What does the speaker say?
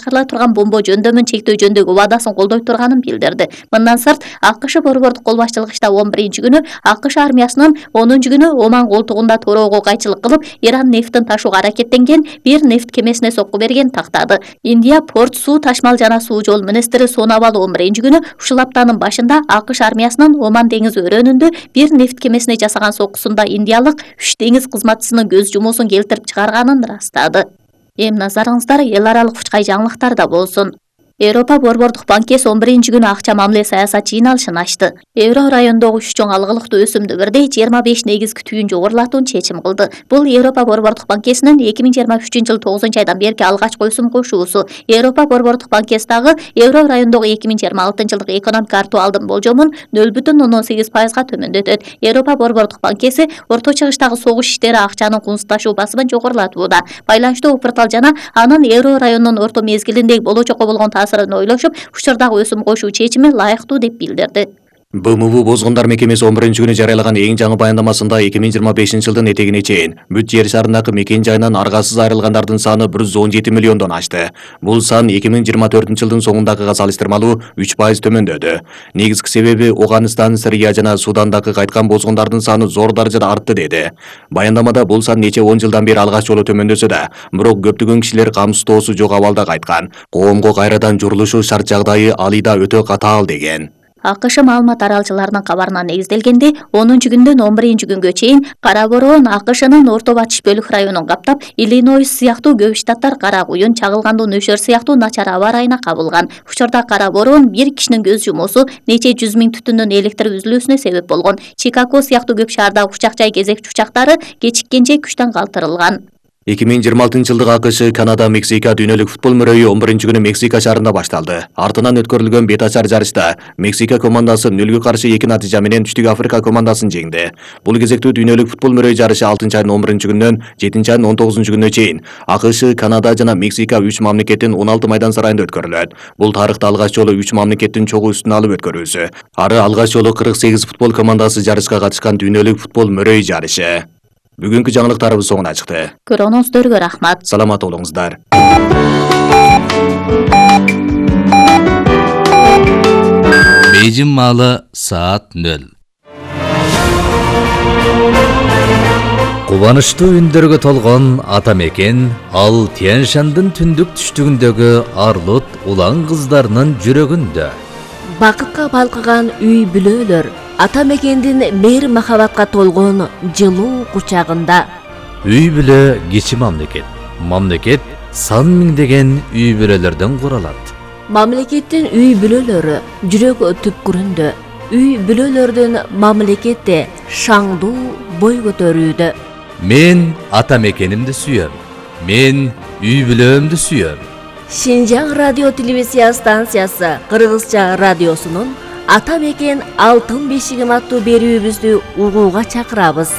башкарыла турган бомба жөндөмүн чектөө жөнүндөгү убадасын колдой турганын билдирди. Мындан сырт АКШ борбордук кол башчылыгында 11-күнү АКШ армиясынын 10-күнү Оман колтугунда тороого кайчылык кылып, Иран нефтин ташууга аракеттенген бир нефт кемесине сокку берген тактады. Индия порт суу ташмал жана суу жол министри Сонавал 11-күнү ушул аптанын башында АКШ армиясынын Оман деңизи өрөөнүндө бир нефт кемесине жасаган соккусунда индиялык 3 деңиз кызматчысынын көз жумуусун келтирип чыгарганын ырастады. Эми назарыңыздар эл аралык учкай жаңылыктарда болсун. Европа борбордук банкеси 11-күнү акча мамиле саясат жыйналышын ачты. Евро районундагы 3 чоң алгылыктуу өсүмдү бирдей 25 негизги түйүн жогорулатууну чечим кылды. Бул Европа борбордук банкесинин 2023-жылы 9-айдан берки алгачкы өсүм кошуусу. Европа борбордук банкеси дагы евро районундагы 2026-жылдык экономика актуалдын болжомун 0,18%га төмөндөтөт. Европа борбордук банкеси Орто Чыгыштагы согуш иштери акчанын кунсуздашуу басымын жогорулатууда. Байланыштуу Упуртал жана анын евро районунун орто мезгилиндеги болочокко болгон таасырын ойлошуп, учурдагы өсүм кошуу чечими ылайыктуу деп билдирди. БМВ Бозгундар мекемеси 11-күнү жарыялаган эң жаңы баяндамасында 2025-жылдын этегине чейин бүт жер шарындагы мекен жайынан аргасыз айрылгандардын саны 117 миллиондон ашты. Бул сан 2024-жылдын соңундагыга салыштырмалуу 3% төмөндөдү. Негизги себеби Афганистан, Сирия жана Судандагы кайткан бозгундардын саны зор даражада артты деди. Баяндамада бул сан нече 10 жылдан бери алгач жолу төмөндөсө да, бирок көптөгөн кишилер камсыздоосу жок абалда кайткан. Коомго кайрадан журулушу шарт жагдайы алыйда өтө катаал деген. АКШ маалымат аралчыларынын кабарына негизделгенде 10-күндөн 11-күнгө чейин кара бороон АКШнын орто батыш бөлүк районун каптап, Иллинойс сыяктуу көп штаттар кара куюн, чагылгандуу нөшөр сыяктуу начар аба ырайына кабылган. Учурда кара бороон бир кишинин көз жумуусу нече 100 миң түтүндүн электр үзүлүүсүнө себеп болгон. Чикаго сыяктуу көп шаардагы учак жай кезекчи учактары кечиккенче күчтөн калтырылган. 2026-жылдык АКШ Канада Мексика дүйнөлүк футбол мөрөйү 11-күнү Мексика шаарында башталды. Артынан өткөрүлгөн бет ачар жарышта Мексика командасы 0-2 натыйжа менен Түштүк Африка командасын жеңди. Бул кезектүү дүйнөлүк футбол мөрөйү жарышы 6-айдын 11-күнүнөн 7-айдын 19-күнүнө чейин АКШ, Канада жана Мексика 3 мамлекеттин 16 майдан сарайында өткөрүлөт. Бул тарыхта алгач жолу 3 мамлекеттин чогуу үстүн алып өткөрүүсү. Ары алгач жолу 48 футбол командасы жарышка катышкан дүйнөлүк футбол мөрөйү жарышы. Бүгүнкү жаңылыктарыбыз соңуна чыкты. Көргөнүңүздөргө рахмат. Саламат болуңуздар. Бейжин маалы саат 0. Кубанычтуу үндөргө толгон ата мекен ал Тянь-Шандын түндүк түштүгүндөгү арлут улан кыздарынын жүрөгүндө. Бакытка балкыган үй бүлөлөр ата мекендин мейир махабатка толгон жылуу кучагында. Үй бүлө кичи мамлекет. Мамлекет сан миңдеген үй бүлөлөрдөн куралат. Мамлекеттин үй бүлөлөрү жүрөк түпкүрүндө. Үй бүлөлөрдүн мамлекетте шаңдуу бой көтөрүүдө. Мен ата мекенимди сүйөм. Мен үй бүлөмдү сүйөм. Шинжаң радио телевизия станциясы Кыргызча радиосунун Ата мекен алтын бешигим аттуу берүүбүздү угууга чакырабыз.